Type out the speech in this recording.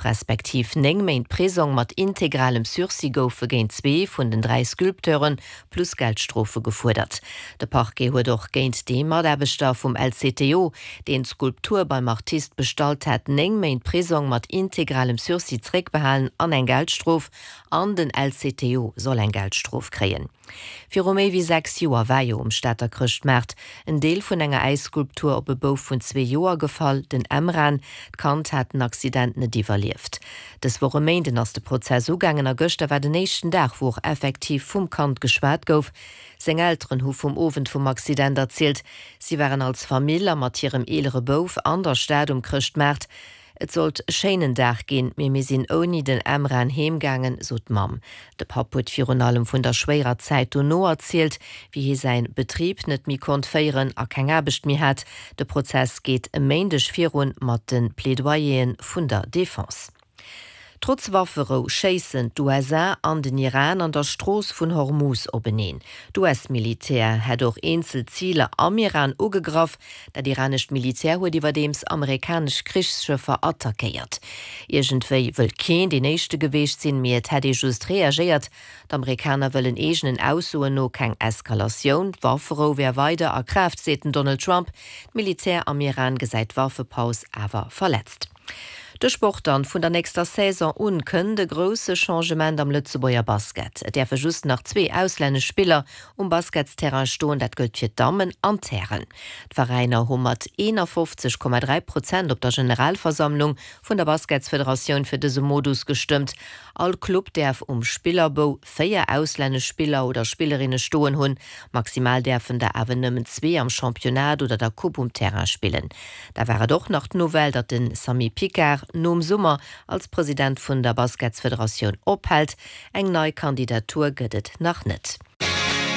Respektiv 9 Méint Prisong mat integralem Sursis goufe géint zwee vun den 3 Sculpteure plus Geldstrofe gefuerdert. De Parquet huet och géint dee Mataarbechter vum LCTO, deen d'Skulptur beim Artist bestallt hat, 9 Méint Prisong mat integralem Sursis zeréckbehalen an eng Geldstrof. An den LCTO soll eng Geldstrof kréien. Viru méi wéi 6 Joer war jo um Stater Chrëschtmaart en Deel vun enger Äisskulptur op e Bouf vun zwee Joer gefall, den Emran. D'Kand hat den Accident net iwwerlieft. Dës Woch e Méinden ass de Prozess ugaangen a gëschter war den éischten Dag, wou och effektiv vum Kand geschwat gouf. Seng Elteren hu vum Owend vum Accident erzielt. Si waren als Famill a mat hirem eelere Bouf an der Stad um Chrëschtmaart. Et sollt e schéinen Dag ginn, mee mir sinn ouni den Emran heem gaangen, sot d'Mamm. De Papp huet virun allem vun der schwéierer Zäit dono erzielt, wéi hie säin Betrib net méi konnt féieren a keng Aarbecht méi hat. De Prozess geet e Méindeg virun mat de Plaidoyeren vun der Defense. Trotz Wafferou schéissen d'USA an den Iran an der Strooss vun Hormuz openeen. D'US-Militär hätt och eenzel Ziler am Iran ugegraff. Dat iranescht Militär huet iwwerdeems amerikanesch Krichsschëffer attackéiert. Iergendwéi wëll keen deen éischte geweecht sinn, mee et hätt ee just reagéiert. D'Amerikaner wëllen eegenen Aussoen no keng Eskalatioun. D'Wafferou wär weider a Kraaft, seet den Donald Trump. D'Militär am Iran gesäit d'Waffepaus awer verletzt. De Sport dann, Vun der nächster Saison un kënnt e grousse Changement am Lëtzebuerger Basket. Et däerfe just nach zwee auslännesch Spiller um Basketsterrain stoen, dat gëllt fir d'Dammen an d'Hären. D'Veräiner hu mat 51,3 Prozent op der Generalversammlung vun der Basketsfederatioun fir dëse Modus gestëmmt. All Club däerf um Spillerbou 4 auslännesch Spiller oder Spillerinne stoen hunn. Maximal däerfen der awer nëmmen zwee am Championnat oder der Coupe um Terrain spillen. Da war et och nach d'Nouvelle, datt de Samy Picard nom Summer als President vun der Basketsfederatioun ophält. Eng nei Kandidatur gëtt et nach net.